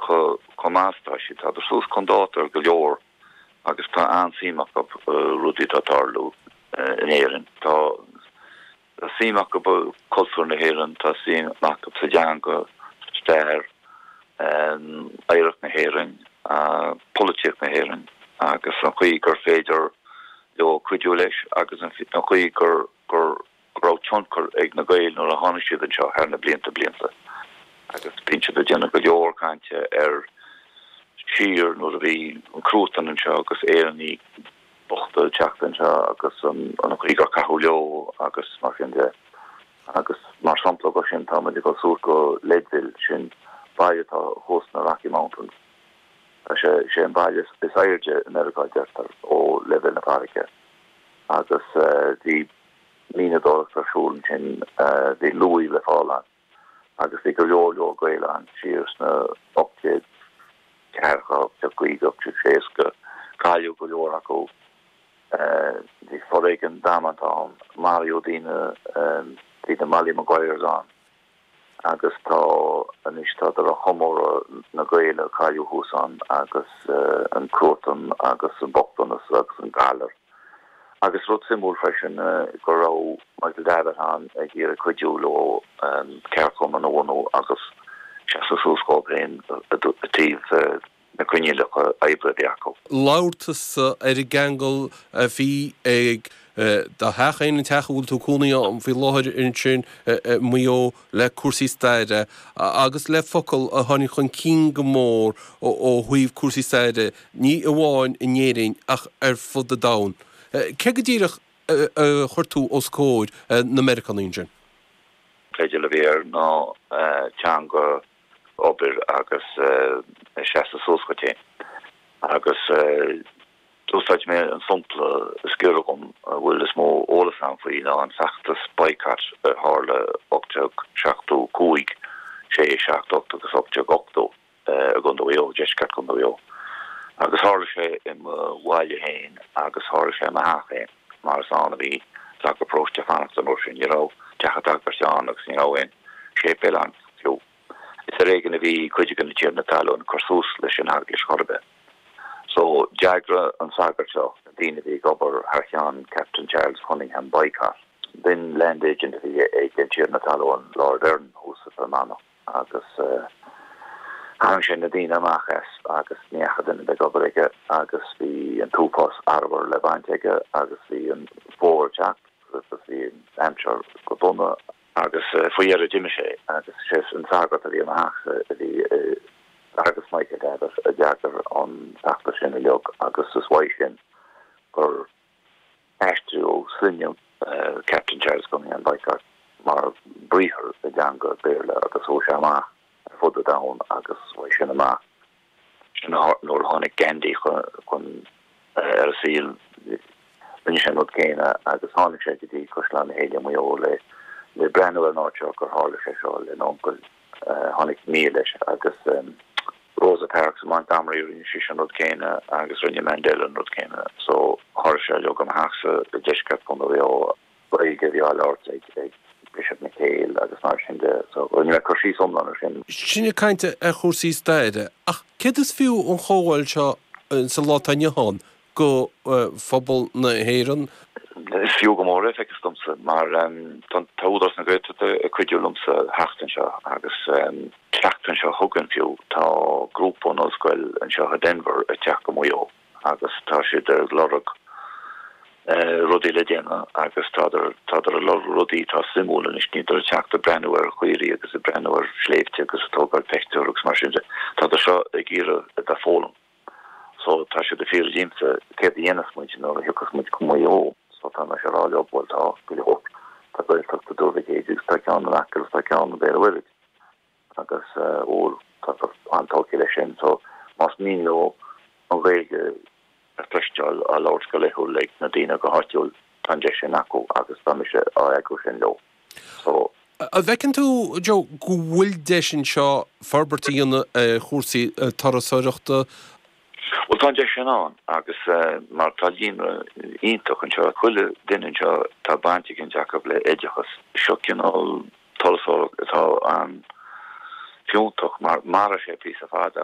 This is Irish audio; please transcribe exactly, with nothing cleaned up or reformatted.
chomh maith tá siad tá suas chun dáta ar go leor agus tá an-suim acu rudaí atá ag tarlú in Éirinn. Tá suim acu cultúr na hÉireann tá suim acu sa teanga stair oidhreacht na hÉireann polaitíocht na hÉireann agus an chaoi gur féidir leo cuidiú leis agus an chaoi gur gur raibh tionchar ag na Gaeil nuair a tháinig siad anseo thar na blianta blianta. agus bíonn siad ag déanamh go leor cainte ar siar nuair a bhí an cruatan anseo agus Éireannaigh bochta ag teacht anseo agus an an chaoi gur caitheadh leo agus mar sin de agus mar shampla go sin tá muid ag dul suas go Leadville sin baile atá thuas na Rocky Mountains. Tá sé sé an baile is airde in America deirtear ó leibhéal na farraige agus bhí mianadóireacht ar siúl sin bhí luaidh le fáil ann agus bhí go leor leor Gael ann siar sna ocht déag ceathracha ocht déag caoga ocht déag seasca cailleadh go leor acu bhí foréigean damanta ann maraíodh daoine bhí na Molly Maguires ann agus tá anois tá á chomóradh na Gaeil a cailleadh thuas ann agus an cruatan agus an bochtanas agus an galar. Agus rud suimiúil freisin go raibh Michael Davitt ann ag iarraidh cuidiú leo ceardchumann a bhunú agus seasamh suas dóibh féin i dtaobh na coinníollacha oibre a bhí acu. Labhair tusa ar an gceangal a bhí ag do theach féin an teach a bhfuil tú cónaí ann faoi láthair ansin i Maigh Eo le cúrsaí staire agus le focal a tháinig chun cinn go mór ó thaobh cúrsaí staire, ní amháin in Éirinn ach ar fud an domhain. Cé go díreach a chuir tú os comhair na Meiriceánaigh ansin? Teideal a bhí air ná teanga obair agus seasamh suas duit féin. Agus d'úsáid mé an sampla is giorra dhom a bhfuil is mó eolas agam faoi ná an feachtas boycott a tharla ocht déag seachtó cúig, sé, seacht, ocht agus ocht déag ochtó i gContae Mhaigh Eo, deisceart Chontae Mhaigh Eo. Agus tharla sé i mo bhaile féin agus tharla sé i mo theach féin mar is ann a bhí sagart paróiste ag fanacht an uair sin. Ní raibh teach an tsagairt ann agus ní raibh aon séipéal ann fiú. Is ar éigean a bhí cuid de na tiarnaí talún ag cur suas leis an eaglais chor ar bith. So d'eagraigh an sagart seo na daoine a bhí ag obair thar cheann Captain Charles Cunningham Boycott. B'in land agent a bhí ag an tiarna talún Lord Erne thuas sa Fhear Manach agus tharraing sé na daoine amach as agus ní fhaca duine ag obair aige agus bhí an t-uafás arbhair le baint aige agus bhí an fómhar ag teacht agus bhí an aimsir go dona agus faoi dheireadh d'imigh sé agus sé an sagart a bhí i mo theachsa a bhí agus Michael Davitt a d'eagraigh an feachtas sin uilig agus is uaidh sin gur aistríodh sloinne Captain Charles Cunningham Boycott mar briathar i dteanga Béarla agus chuaigh sé amach ar fud an domhain agus uaidh sin amach sin nuair a tháinig Gandhi chun ar an saol rinne sé an rud céanna agus tháinig sé go dtí Caisleán na hÉille Maigh Eo le le breathnú ar an áit seo gur tharla sé seo lena uncail tháinig nia leis agus Rosa Parks i Montgomery rinne sí an rud céanna agus rinne Mandela an rud céanna so tharla sé uilig i mo theachsa i deisceart Chontae Mhaigh Eo Gaeilge a bhí á labhairt ag ag Bishop McHale agus mar sin de so rinne mé cur síos iomlán ar sin. Sin ag caint ar chúrsaí staire ach céard is fiú an chomhdháil seo sa lá atá inniu ann go phobal na hÉireann? Is fiú go mór é feictear domsa mar tá Údarás na Gaeltachta ag cuidiú liomsa theacht anseo agus seachtain seo chugainn fiú tá grúpa ón ollscoil anseo i Denver ag teacht go Maigh Eo agus tá siad ag lorg rudaí le déanamh agus tádar tádar ag lorg rudaí atá suimiúil anois níltear ag teacht ag breathnú ar chaoirigh agus ag breathnú ar shléibhte agus ag tógáil pictiúr agus mar sin de. Tádar seo ag iarraidh a bheith ag foghlaim. So tá siad ag fiafraí díomsa céard a dhéanfas muid nuair a thiocfas muid go Maigh Eo. So tá mise ag rá leo bhuel tá go leor tá Gaeltacht i dTuar Mhic Éadaigh agus tá ceann in Acaill agus tá ceann i Béal an Mhuirthead agus ó tá an-tógtha leis sin. So más mian leo an Ghaeilge a chloisteáil á labhairt go laethúil ag na daoine go háitiúil tá an deis sin acu agus tá mise á eagrú sin leo. So An bhfeiceann tú, Joe, go bhfuil deis anseo forbairt a dhéanamh ar chúrsaí turasóireachta? Bhuel tá an deis sin ann agus mar tá líonra iontach anseo, chuile duine anseo tá baint éicint acu le oideachas. Seo cineál turasóireacht atá an-fhiúntach mar mairfidh sé píosa fada.